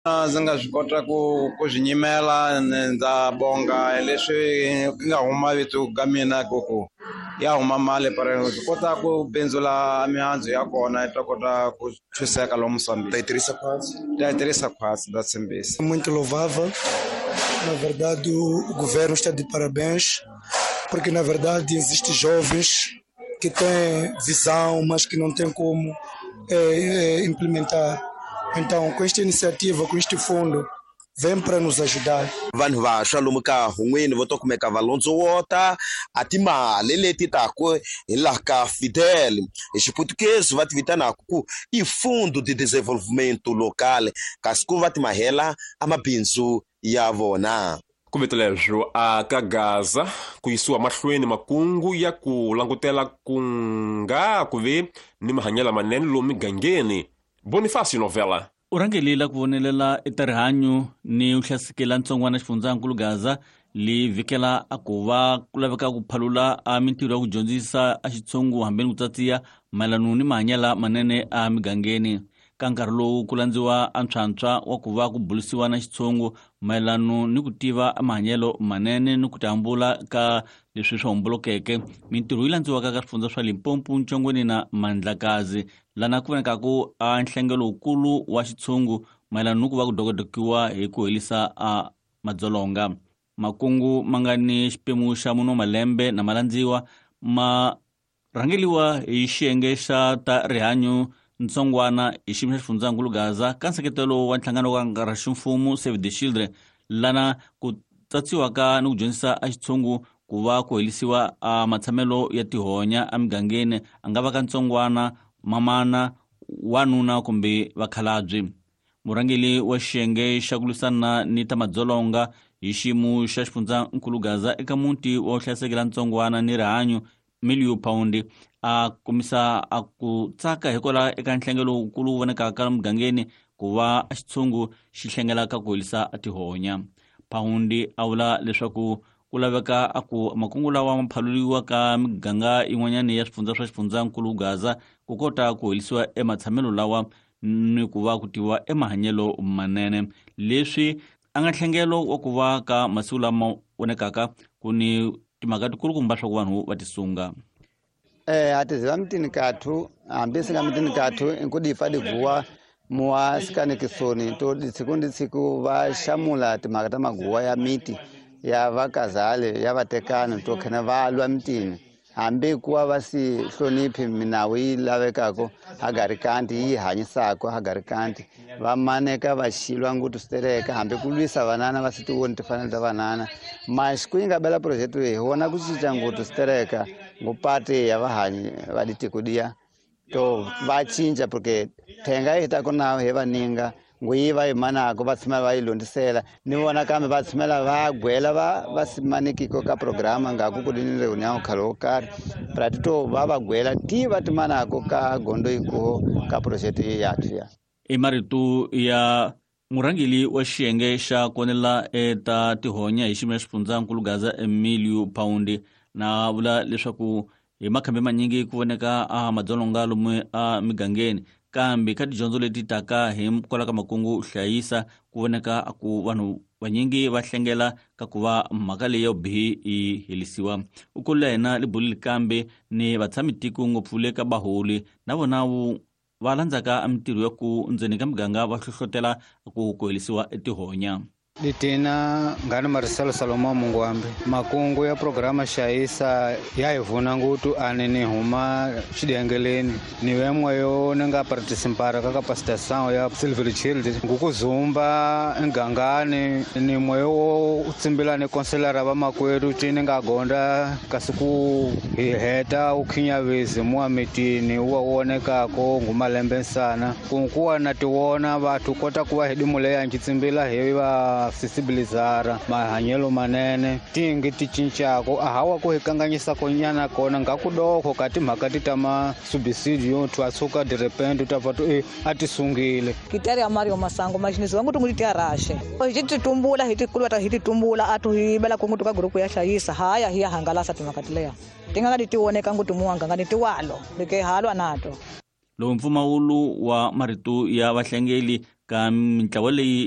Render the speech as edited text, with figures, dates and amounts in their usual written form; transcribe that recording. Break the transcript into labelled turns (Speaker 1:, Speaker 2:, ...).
Speaker 1: Ndzi nga swi kota ku swi nyimela ndza bonga leswi ku nga huma vito ka mina ku ya huma mali pare swi kota ku bindzula mihandzu ya kona yi ta kota ku thuseka lomu
Speaker 2: Ta yi tirhisa khwatsi?
Speaker 1: Ta yi tirhisa khwatsi, ndza tshembisa.
Speaker 3: Muito louvável. Na verdade, o governo está de parabéns, porque na verdade existem jovens que têm visão, mas que não têm como implementar. Então, com esta iniciativa, com este fundo, vem para nos ajudar.
Speaker 2: Vanhu vantshwa lomu ka hun'wini vo to kumeka va londzowota a timali leti taku hi laha ka Fidel, hi Xiputukezi va ti vitanaka ku i Fundo de Desenvolvimento Local, kasi ku va ti mahela a mabindzu ya vona.
Speaker 4: Ku vito leswo a ka Gaza ku yisiwa mahlweni makungu ya ku langutela ku nga ku ve ni mahanyelo lamanene lomu migangeni. Bonifacio Novela.
Speaker 5: U rhangelile ku vonelela eka rihanyo ni u hlasekela ntsongwana xifundzankulu Gaza li vhikela a ku va ku laveka ku phalula a mintirho ya ku dyondzisa a xitshungu hambeni ku tsatsiya mayelano ni mahanyelo manene a migangeni. Ka nkarhi lowu ku landziwa a ntshwantshwa wa ku va ku bulisiwa na xitshungu mayelano ni ku tiva mahanyelo manene ni ku tihambula ka leswi swi hombolokeke. Mintirho yi landziwaka ka swifundza swa Limpopo, Ntshongweni na Mandlakazi, lana ku vonekaku a nhlengelo wukulu wa xitshungu mayelana ni ku va ku dokodokiwa hi ku helisa a madzolonga. Makungu ma nga ni xipemu xa mune wa malembe na malandziwa ma rhangeliwa hi xiyenge xa ta rihanyo ntsongwana hi xiyimo xa xifundzankulu Gaza ka nseketelo wa nhlangano wa nkarhi ximfumo Save the Children, lana ku tsatsiwaka ni ku dyondzisa a xitshungu ku va ku helisiwa a matshamelo ya tihonya emigangeni, a nga va ka ntsongwana, mamana, wanuna kumbe vakhalabye. Murhangeri wa xiyenge xa ku lwisana ni ta madzolonga hi xiyimo xa xifundzankulu Gaza eka muti wa vuhlayiseki ntsongwana ni rihanyo Milio Paundi a kombisa a ku tsaka hikwalaho eka nhlengelo wukulu wu vonekaka mugangeni ku va xitshungu xi hlengelaka ku helisa tihonya. Paundi a vula leswaku ku laveka a ku makungu lawa ma phaluriwa ka miganga yin'wanyana ya swifundza swa xifundzankulu Gaza ku kota ku helisiwa ematshamelo lawa ni ku va ku tiviwa emahanyelo manene. Leswi a nga nhlengelo wa ku va ka masiku lama vonekaka ku ni timhaka tikulukumba swa ku vanhu va tisunga.
Speaker 6: A tiziva mitini kathu, hambi singa mitini kathu inkudifa diguwa muwa sikanikisoni to tsiku ndi tsiku va xamula timhaka ta maguwa ya miti ya vakazale ya vatekani to khena va lwa mitini, hambi kuwa va si hloniphi minawu yi lavekako hagarikanti yi hanyisako hagarikanti, va maneka va xilwa ngutu switereka hambi ku lwisa vanana va si tivoni timfanelo ta vanana. Mas ku yi nga bela project leyi hi vona ku cinca ngutu switereka ngopati ya vahanyi va ditiko diya to va cinca, porque thenga yi ta ku na hi vaninga nguyi va yi manako va tshama va yi londisela ni vona kambe va tshamela va gwela va simanikiko ka programa nga ku ku ni reunião khale wo karhi prati to va va gwela ti va ti manako ka gondo yikuho ka project ya ya.
Speaker 5: I marito ya murhangeri wa xiyenge xa konela eta tihonya hi xiyimo xa xifundzankulu Gaza Emilio Paundi na vula leswaku hi makhambi manyingi ku voneka a madzolonga lomu a migangeni, kambe ka tidyondzo leti taka hi kwala ka makungu hlayisa ku voneka ku vanhu vanyingi va hlengela ka ku va mhaka leyi ya vubihi yi helisiwa. U kulula hina libulile kambe ni vatshami tiko ngopfu le ka baholi na vona va landzaka mintirho ya ku ndzeni ka miganga va hlohlotela ku ku helisiwa tihonya.
Speaker 7: Ditina ngani Marcelo Salomão Mungwambi. Makungu ya programa xayisa ya hi vuna ngutu ani ni huma xidengeleni. Ni vemwe yo ni nga participara ka capacitação ya Silver Child. Ngukuzumba ngangani ni mwe wo tsimbila ni konselara va makwerhu ti ni nga gonda kasi ku hi heta u khinyavezi muwa mitini wa wonekako ngumalembe nsana. Kunkuwa na tiwona vathu kota ku va hi dimuleya nchitsimbila hi va sensibilizara mahanyelo manene tingi ti cincako a hawa ku hi kanganyisa konyana kona nga ku doko ka timhaka ti ta ma subsidio tu asuka de repente ta va tu a ti sungile.
Speaker 8: Kitari ya Mario Masango maxinizi vangu tungu ti arashe hi ti tumbula hi ti kulwa hi ti tumbula a tu hi bela kungu ka grupu ya hlayisa haya hi ya hangalasa timhaka ti leya ti nga ti tivoneka ngutu muwanga nga ni tiwalo leke halwa nato.
Speaker 5: Lowu mpfumawulo wa marito ya vahlengeli Ka mintlawa leyi.